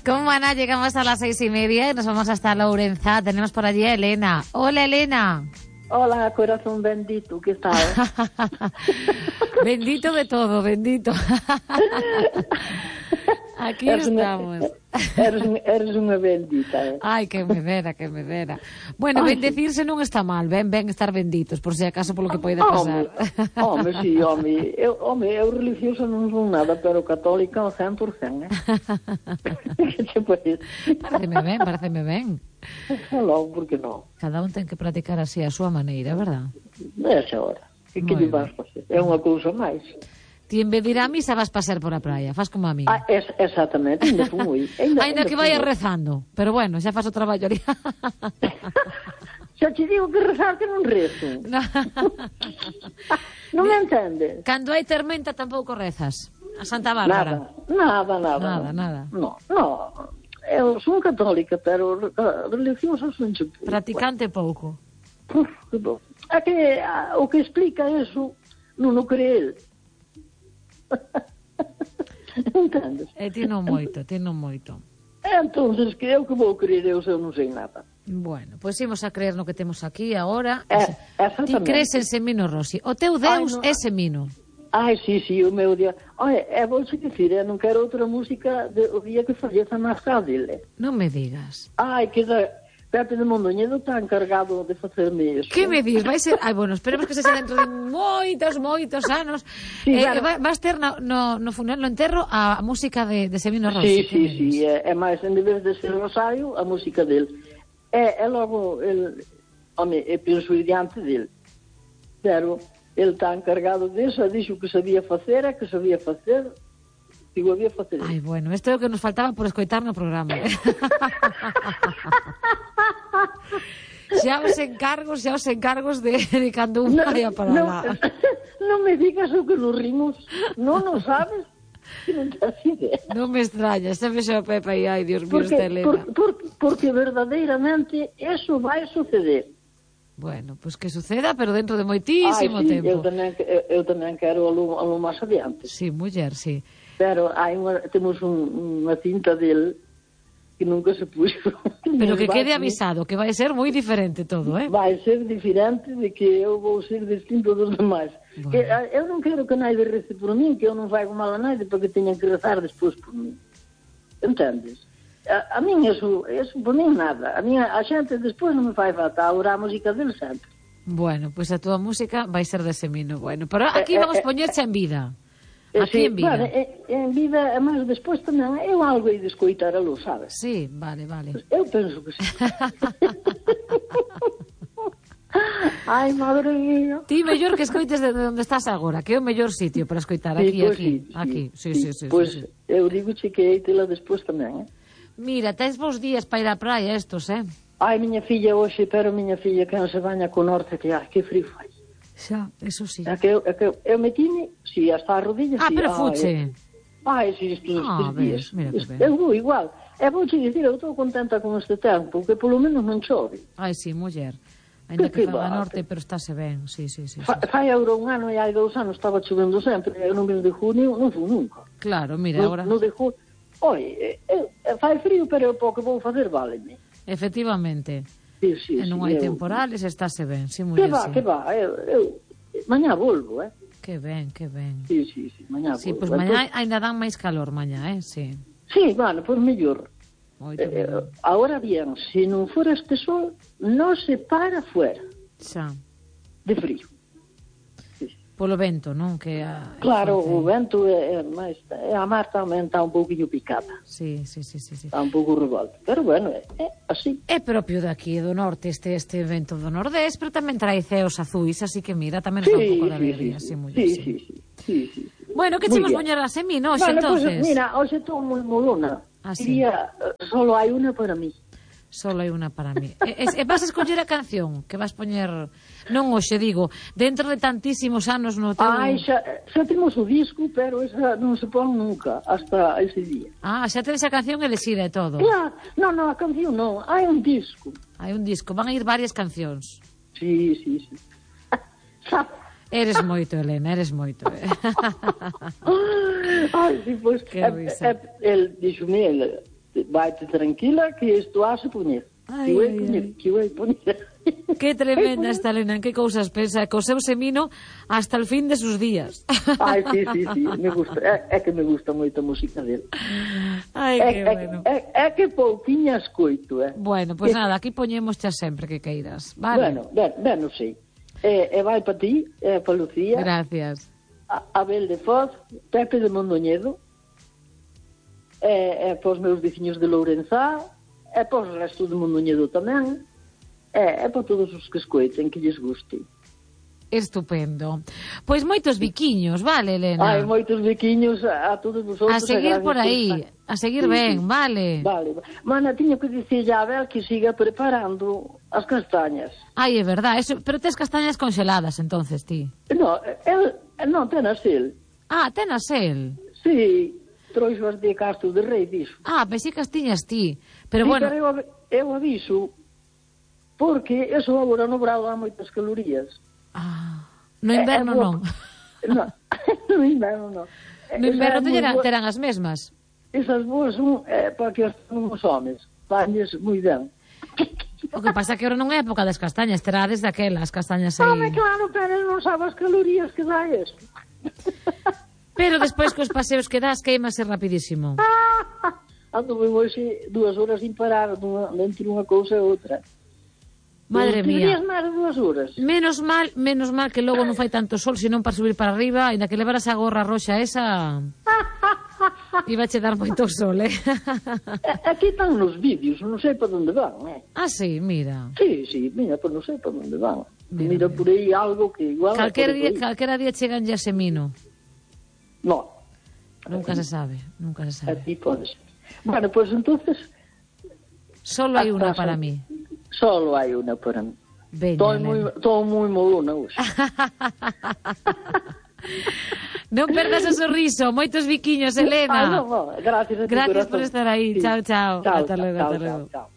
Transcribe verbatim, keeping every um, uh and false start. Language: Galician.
Como Ana, llegamos a las seis y media y nos vamos hasta Lourenza. Tenemos por allí a Elena. Hola, Elena. Hola, corazón bendito, ¿qué tal? Bendito de todo, bendito. Aquí eres estamos. Una, eres, eres unha bendita, eh? Ai, que me dera, que me dera. Bueno, Ay, bendecirse non está mal, ben, ben estar benditos, por si acaso polo que poida pasar. Home, si, home, eu, home, eu religiosa non son nada, pero católica ao cen por cen, eh? Que che parece? Pareceme ben, pareceme ben. Logo, por que non? Cada un ten que practicar así a súa maneira, verdad? Esa hora. E que lle vas facer? É unha cousa máis. Ti en vez de ir á misa vas pasear por a praia, faz como a mí. Ah, es, exactamente, ainda fui. Ainda, ainda que vayas rezando, pero bueno, xa faz o traballo ali. Xa te digo que rezar que non rezo. No. Non me entendes? Cando hai tormenta tampouco rezas. A Santa Bárbara. Nada, nada, nada. Nada, nada. No, no. Eu son católica, pero religiosa son che pouco. Praticante pouco. Uf, que bom. É que a, o que explica eso non o cree el. Entendes? E ti non moito, ti non moito. Entonces, que eu que vou creer eu se eu non sei nada. Bueno, pois pues imos a creer no que temos aquí agora. Eh, ti crees en Semino Rossi. O teu Deus Ai, no. é Semino. Ai, si, si, o meu Deus. Ai, é vou se dicir, eu non quero outra música de, o día que falleza máis cá dele. Non me digas. Ai, que da... Pepe de Mondoñedo está encargado de facerme eso. Que me dis? Vai ser... Ai, bueno, esperemos que se sea dentro de moitos, moitos anos. Sí, eh, claro. Vas ter no, no, no funeral, no enterro, a, a música de, de Semino Rossi. Sí, sí, sí, é, é máis, en vez de ser Rosario, a música dele. É, é logo, el, home, é penso diante dele. Pero, ele está encargado disso, dixo que sabía facer, é que sabía facer, digo, había facer. Ai, bueno, isto é o que nos faltaba por escoitar no programa. Eh? xa os encargos, xa os encargos de, de cando un vaya para no, lá. Non me digas o que nos rimos, non o sabes, que non te has idea. Non me extraña, xa me xa o Pepe e ai, Dios mío, porque, esta Elena. Por, por, porque verdadeiramente eso vai suceder. Bueno, pois pues que suceda, pero dentro de moitísimo Ai, sí, tempo. Eu tamén, eu, eu tamén quero algo, algo máis adiante. Sí, muller, sí. Pero hai unha, temos un, unha cinta del que nunca se puxo. Pero que quede avisado, que vai ser moi diferente todo, eh? Vai ser diferente de que eu vou ser distinto dos demais. Bueno. Que, eu non quero que naide rece por mí, que eu non faigo mal a naide para que teñan que rezar despois por mí. Entendes? A, a min eso, eso por mí nada. A, minha, a xente despois non me fai falta orar a música del sempre. Bueno, pois pues a túa música vai ser de Semino, bueno. Pero aquí vamos eh, poñerse en vida. Aquí sí, en vida. Vale, en vida, mas despois tamén eu algo hai de escoitar a luz, sabes? Sí, vale, vale. Eu penso que sí. Ai, madre mía. Ti mellor que escoites de onde estás agora, que é o mellor sitio para escoitar, aquí, sí, pues aquí, sí, aquí. Sí, sí, sí. Pois sí, sí. eu digo che que hai tela despois tamén, eh? Mira, tens vos días para ir á praia estos, eh? Ai, miña filla hoxe, pero miña filla que non se baña co norte, que ai, que frío fai. Xa, eso sí. É que eu, é que eu, eu metime, si, hasta a rodilla, Ah, si, pero ai, fuche. Ai, si, estes Ah, tres días. ves, mira que ben. Eu vou igual. E vou che dicir, eu estou contenta con este tempo, que polo menos non chove. Ai, sí, muller. Ainda que, Que que faga va, norte, pero estáse ben, sí, sí, sí. Fa, sí. fai agora un ano e hai dous anos estaba chovendo sempre, e no mes de junio non fui nunca. Claro, mira, No, agora... no de junio, oi, eh, eh, fai frío, pero o pouco vou facer, váleme. Efectivamente. Sí, sí, E non sí, hai eu... temporales, estáse ben, sí, Que muller, va, sí. que va, eu, eu mañá volvo, eh? Que ben, que ben. Sí, sí, sí, mañá Sí, volvo. pois pues mañá ainda dan máis calor mañá, eh, sí. Sí, bueno, pois pues mellor. Moito Eh, mellor. ahora bien, se non fora este sol, non se para fuera Xa. de frío. Polo vento, non? Que a, Claro, forte. o vento é, é máis... É, a mar tamén está un pouquinho picada. Sí, sí, sí, sí, sí. Está un pouco revolta. Pero bueno, é, é así. É propio daqui do norte este este vento do nordés, pero tamén trae ceos azuis, así que mira, tamén nos dá un pouco de alegría, sí, muller, sí, sí. sí, sí, sí, sí, sí. Bueno, que Muy chimos bien. poñer a semino, hoxe, Bueno, entonces? pues, mira, hoxe estou moi molona. Ah, sí. Diría, eh, solo hai unha para mí. Solo hai unha para mí. E, e, e vas a escoller a canción que vas poñer... Non hoxe, digo, dentro de tantísimos anos no teu... Ai, xa, xa temos o disco, pero esa non se pon nunca, hasta ese día. Ah, xa tenes a canción elexida e todo. Claro, non, non, a canción non, hai un disco. Hai un disco, van a ir varias cancións. Sí, sí, sí. Eres moito, Elena, eres moito. Eh? Ai, sí, pois, Que risa. el dixome, el, Vai-te tranquila que isto hace poñer. Ai, que vai ai, poñer, ai. que vai poñer. Que tremenda esta Elena, en que cousas pensa, co seu semino hasta el fin de sus días. Ai, sí, sí, sí, me gusta. É, é que me gusta moito a música dele. Ai, É, que é, bueno. é, é que pouquiña escoito, eh? Bueno, pois pues nada, aquí poñemos xa sempre que queiras, vale? Bueno, ben, ben, non sei. E, e vai para ti, e para Lucía, Gracias. a Abel de Foz, Pepe de Mondoñedo, e, e para os meus veciños de Lourenzá, e para os restos de Mondoñedo tamén, e, e para todos os que escoiten, que lles guste. Estupendo. Pois moitos biquiños, vale, Elena? Hai moitos biquiños a, a todos vosotros. A seguir por aí, estar... a seguir Sí, ben, sí. vale. Vale. Mana, tiño que dicir a Abel que siga preparando as castañas. Ai, é verdad, eso, pero tes castañas congeladas, entonces, ti. No, el, non tenas el. Ah, tenas el. Sí, trouxo as de Castro de Rei, dixo. Ah, pensei que as tiñas ti. Pero Sí, bueno, pero eu, av- eu aviso, porque eso agora no brado dá moitas calorías. ah, no inverno É- é non. No, no inverno non. No inverno Esa é moi terán, boa- terán as mesmas. Esas boas son eh, para que as tengan os homes. Fanlles moi ben. O que pasa é que ahora non é época das castañas, terades daquelas castañas aí. Home, claro, pero non sabe as calorías que dá eso. Pero despois cos paseos que das queimase rapidísimo. Ando ben hoxe dúas horas sin parar dunha, entre unha cousa e outra. Madre Deberías mía. máis de dúas horas. Menos mal, menos mal que logo non fai tanto sol, senón para subir para arriba, ainda que levaras a gorra roxa esa, iba che dar moito sol, eh? Eh, Aquí están nos vídeos, non sei para onde van, eh? Ah, sí, mira. Sí, sí, mira, pues non sei para onde van. Mira, Mira, mira. por aí algo que igual... Calquera por día, aí. calquera día chegan ya semino. No, Nunca se sabe, nunca se sabe. aquí podes. Bueno, pues entonces... Solo hai unha hasta para son- mí. Solo hai unha para mí. Veña, Estou Elena. moi, estou moi molona hoxe. Non perdas o sorriso, moitos biquiños, Elena. Ah, no, no, gracias a ti, Gracias corazón. por estar aí. Sí. Chao, chao. Chao, Hasta luego, chao, hasta chao, luego. chao.